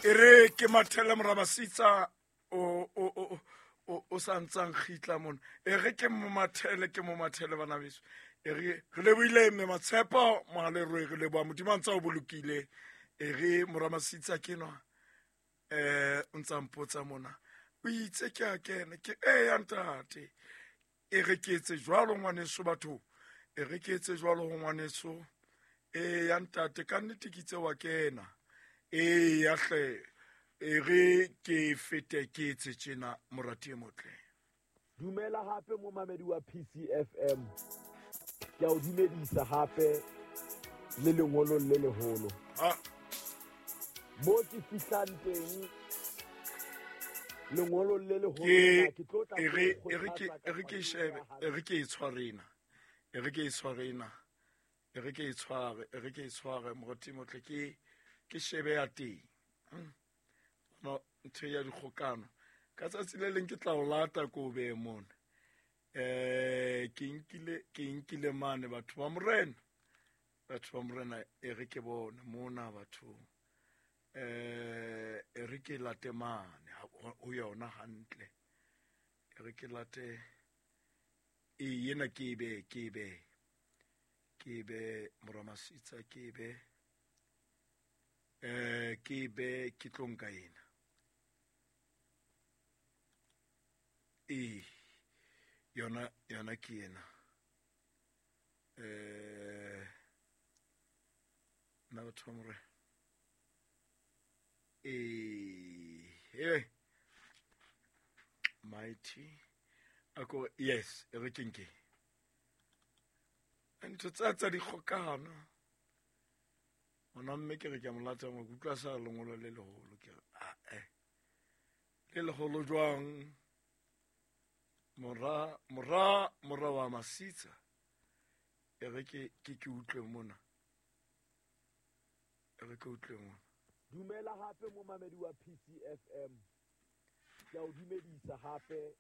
E re ke mathele morabasitsa o o o o o sa ntsang kgitla mona. E re ke mo mathele, ke mo mathele bana beso. E re re lebohile mme Matshepo Mohaleroe, re leboha Modimo a ntse a o bolokile. E re moramasitsa ke nwa o ntsa mpotsa mona. O itse ke a kena ke e ya ntate. E re ke etse jwalo ngwaneso batho. E re ke etse jwalo ho ngwaneso. E ya ntate ka nnete ke itse wa kena. E ya hle. E re ke fete ke etse tjena morati e motle. Dumela hape momamedi wa PCFM. Ke a o dumedisa hape le lengolong le leholo. Ah. Mo ke fihlang teng lengolong le leholo Ke ke tlo tla e re ke o e re ke kgothatsa e re ke ka shebe palo e re ke e tshwarena. E re ke e tshwarena. E re ke e tshware, e re ke e tshware morati e motle ke ke shebe ya teng. No ntho ya dikgokano. Ka tsatsi le leng ke tla o lata ko o behe mona. Ke nkile mane batho ba morena. Batho ba morena e re ke bone mona batho. E re ke late mane ho yona hantle. E re ke late e yena ke be ke be ke be moramasitsa ke be ke be ke tlo nka ena. E yona yona ke ena. Nna batho ba morena. E mighty ako yes e re ke nke. Ntho tsa tsa dikgokano. Ona mme ke re ke a mo lata mo kutlwa sa lengolo le leholo ke re a e le leholo jwang mora mora mora wa Masitsa e re ke ke ke utlwe mona e re ke utlwe mona. Dumela hape momamedi wa PCFM. Ke a o dumedisa hape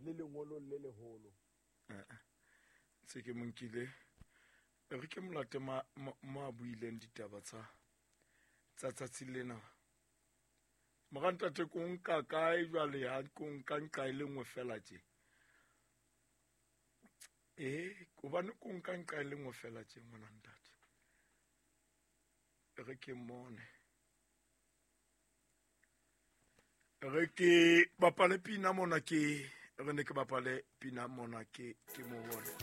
le lengolong le leholo. Ntse ke mo nkile. E re ke molate mo a buileng ditaba tsa tsa tsatsi lena. Morantate ko nka kae jwale ha ko nka nqa e le nngwe fela tje. Hobane ko nka nqa e le nngwe fela tje ngwana ntate. E re ke mmone. E re ke bapale pina mona ke re ne ke bapale pina mona ke ke mo bone.